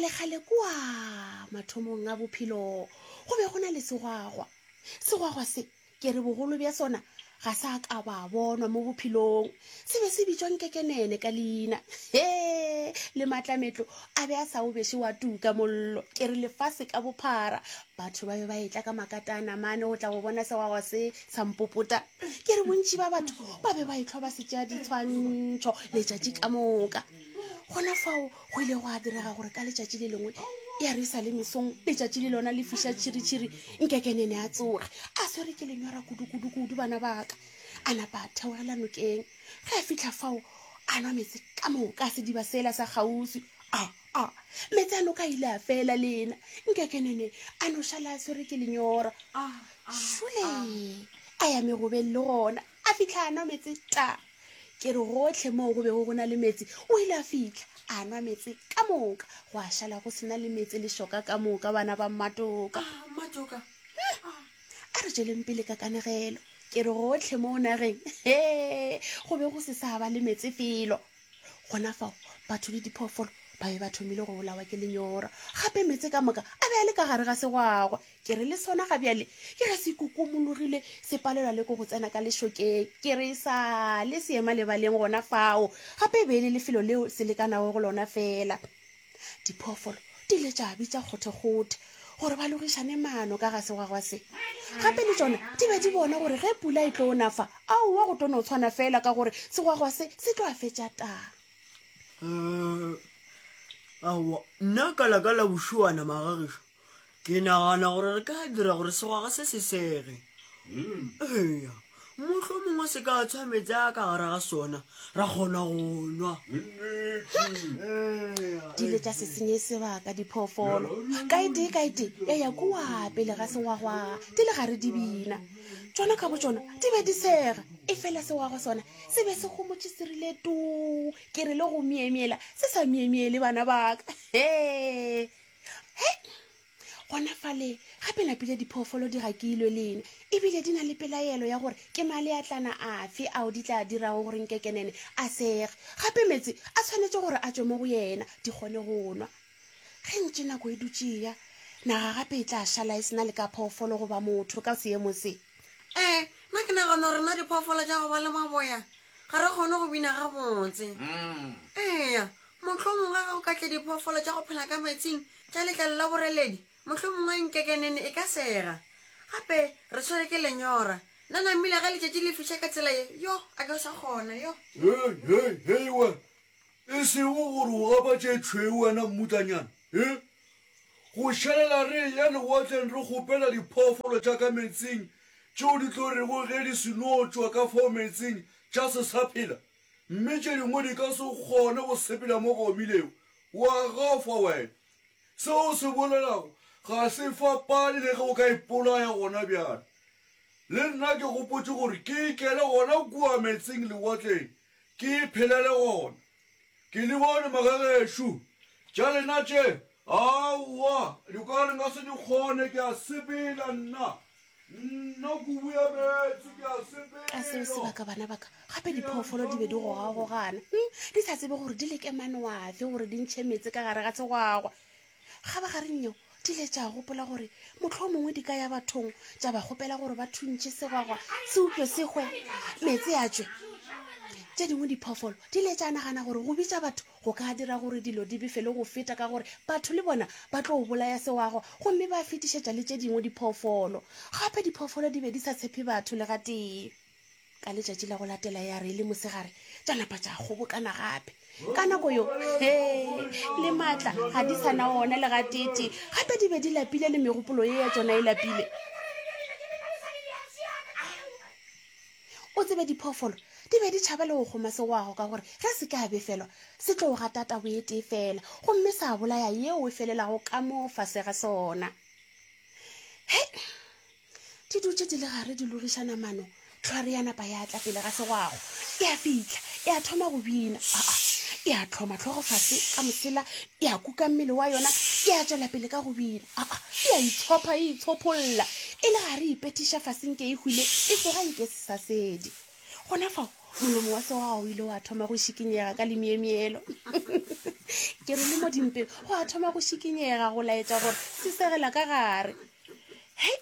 Kgalekgale kua mathomong a bophelo go be go na le segwagwa. Segwagwa se ke re bogolo bja sona ga sa ka ba bonwa mo bophelong. Se be se bitšwa Nkekenene ka leina. He! Le maatlametlo a be a sa o beše wa tuka mollo. Ke re lefase ka bophara batho ba be ba etla ka makatana mane go tla go bona segwagwa se sa mpopota. Ke re bontši ba batho ba be ba ehlwa ba se tšea ditshwantšho letšatši ka moka. Gona fao go ile gwa direga gore ka letšatši le lengwe ya re sa le mesong letšatši le lona le fiša tšhiritšhiri nkekenene a tsoge a swere ke lenyora kudu-kudu-kudu bana baka a napa a theogela nokeng ge a fitlha fao a nwa meetse ka moka a sediba sela sa kgauswi a a meetse a noka ile a fela lena nkekenene a no šala a swere ke lenyora šole a ya megobeng le gona a fitlha a nwa meetse ta Ke re gohle moo go bego go na le meetse, o ile a fihla, a nwa meetse ka moka, gwa šala go se na le meetse lešoka ka moka, bana ba Mmatoka. Ah, Mmatoka. A re tšweleng pele ka kanegelo. Ke re gohle moo nageng, he, go be go se sa ba le meetse felo. Gona fao, batho le diphoofolo ba be ba thomile go bolawa ke lenyora. Gape meetse ka moka a be a le ka gare ga segwagwa. Ke re le sona ga bjale ke ge se kukumologile se palelwa le ke go tsena ka lešokeng. Ke re sa le se ema lebaleng gona fao, gape e be e le lefelo leo se lekanago go lona feela. Diphoofolo di ile tša bitša kgothekgothe gore ba logišane maano ka ga segwagwa se. Gape le tšona di be di bona gore ge pula e tlo na fa, aowa go tlo no tshwana feela ka gore segwagwa se se tlo a fetša taa. Eh, aowa nna ka la ka la bošuana magagešo Ke nagana gore re ka dira gore segwaga se se sege. Eya, mohlomongwe se ka tshwa meetse a ka gare ga sona, ra kgona go nwa. Di ile tša se senye sebaka diphoofolo. Ka e tee ka e tee ya ya kua pele ga segwagwa di le gare di bina. Tšona ka botšona di be di sega, efela segwagwa sona se be se homotše se rile tuu. Ke re le go myemyela se sa myemyele bana ba ka. Hee! He! Gona fale, gape napile diphoofolo di gakilwe lena, ebile di na le pelaelo ya gore ke maleatlana afe ao di tla dirago gore Nkekenene a sege. Gape meetse a tshwanetše gore a tšwe mo go yena, di kgone go nwa. Ge ntše nako e dutše e ya, naga gape e tla šala e se na le ka phoofolo goba motho ka seemo se. Ee, nna ke nagana gore rena diphoofolo tša go ba le maboya ga re kgone go bina gabotse. Eya, Mohlomongwe ge go ka tla diphoofolo tša go phela ka meetseng tša letlalo la boreledi, mohlomongwe nkekenene e ka sega. Gape re tshwere ke lenyora. Nna namile ge letšatši le fiša ka tsela ye, yo, a ke sa kgona, yo. Hei, hei, hei wena! E sego gore o gapa tše tšhweu wena mmutlanyana, he? Go šalela re eya lewatleng re kgopela diphoofolo tša ka meetseng tšeo di tlo rego ge di seno tšwa ka fao meetseng tša se sa phela, Mme tše dingwe di ka se kgone go sepela mo go omilego. O a gafa wena. Seo o se bolelago ga se fapane le ge o ka ipolaya gona bjale. Le nna ke gopotše gore ke ikele gona kua meetseng lewatleng, ke iphelele gona. Ke le bone magagešo. Tša lena tše, aowa, di ka re nka se di kgone, ke a sepela nna. Nna kubu ya meetse, ke a sepela. Ka seo sebaka bana ba ka, gape diphoofolo di be di gogagogana, hm, di sa tsebe gore di leke mano afe gore di ntšhe meetse ka gare ga segwagwa. Kgabagareng yeo, di ile tša gopola gore mohlomongwe di ka ya bathong tša ba kgopela gore ba thuntšhe segwagwa se upše se hwe, meetse a tšwe. Tše dingwe diphoofolo di ile tša nagana gore go bitša batho go ka dira gore dilo di befe le go feta ka gore batho le bona ba tlo bolaya segwagwa gomme ba fetišetša le tše dingwe diphoofolo. Gape diphoofolo di be di sa tshepe batho le gatee. Ka letšatši la go latela ya re e le mosegare tša napa tša kgobokana gape. Ka nako yo, he, le maatla ga di sa na ona le gateetee. Gape di be di lapile le megopolo ye ya tšona e lapile. O tsebe diphoofolo di be di tšhaba le go kgoma segwago ka gore ge se ka befelwa se tlo gata tabo e tee fela gomme sa bolaya yeo e felelago ka mo fase ga sona. He! Di dutše di le gare di logišana mano, tlhware ya napa ya tla pele ga segwago. Ya fihla ya thoma go bina. Aa! Ya hloma hlogo fase ka mosela, ya kuka mmele wa yona, ya tšwela pele ka go bina. Aa! Ya itshopha e itshopholla, e le gare e ipethiša fase nke e hwile, e tsoga nke sesasedi. Gona fao, molomo wa segwago o ile wa thoma go šikinyega ka lemyemyelo. Ke re le mo dimpeng go a thoma go šikinyega go laetša gore se segela ka gare. Hei,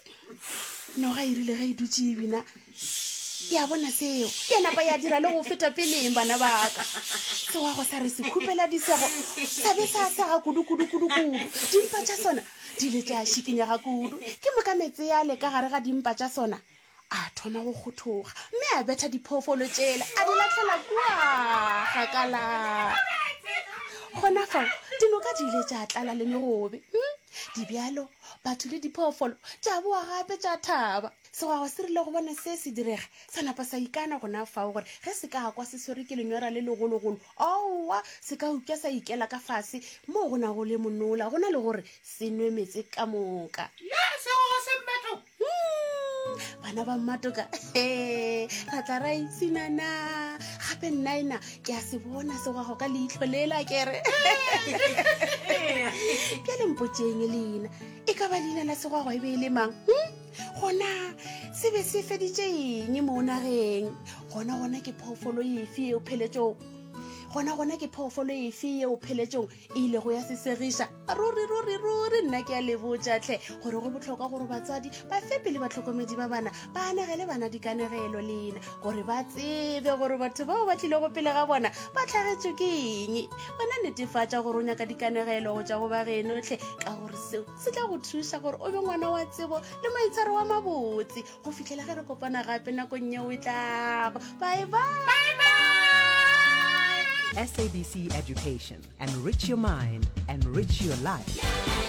noga e rile ge e dutše e bina ya bona seo ya napa ya dira le go feta peleng bana baka. Sewago sa re se khupela disego sa be sa sega kudu kudu kudu kudu. Dimpa tša sona di ile tša šikinyega kudu. Ke moka meetse yale ka gare ga dimpa tša sona a thoma go kgothoga mme a betha diphoofolo tšela a di latlhela kua gakala. Gona fao dinoka di ile tša tlala le megobe. Hmm? Dibjalo, batho le diphoofolo tša boa gape tša thaba. Segwagwa se rile go bona se se direga, sa napa sa ikana gona fao gore ge se ka kwa se swerwe ke lenyora le legologolo, aowa, se ka upša sa ikela ka fase moo go nago le monola go na le gore se nwe meetse ka moka. Ya, segwagwa se mmetho! Hmm, bana ba mmatoka ra tla ra ipshinana gape nnaena ke a se bona segwago ka leitlho lela kere bjale mpotseng leina e ka ba leina la segwago e be e le mang hmm? gona se be se feditše eng mo nageng gona gona ke phoofolo efe eo pheletšong gona gona ke phoofolo efe eo pheletšong e ilego ya se segiša ruri ruri ruri nna ke a le botša tlhe gore go bohlokwa gore batswadi ba fepe le batlhokomedi ba bana ba anegele bana dikanegelo lena gore ba tsebe gore batho bao ba tlilego pele ga bona ba tlhagetšwe ke eng. Wena netefatša gore o nyaka dikanegelo go tšwa go ba geno tlhe ka gore seo se tla go thuša gore o be ngwana wa tsebo le maitshwaro wa mabotse go fihlela ge re kopana gape nakong yeo e tlago. Bye bye. SABC Education. Enrich your mind, enrich your life.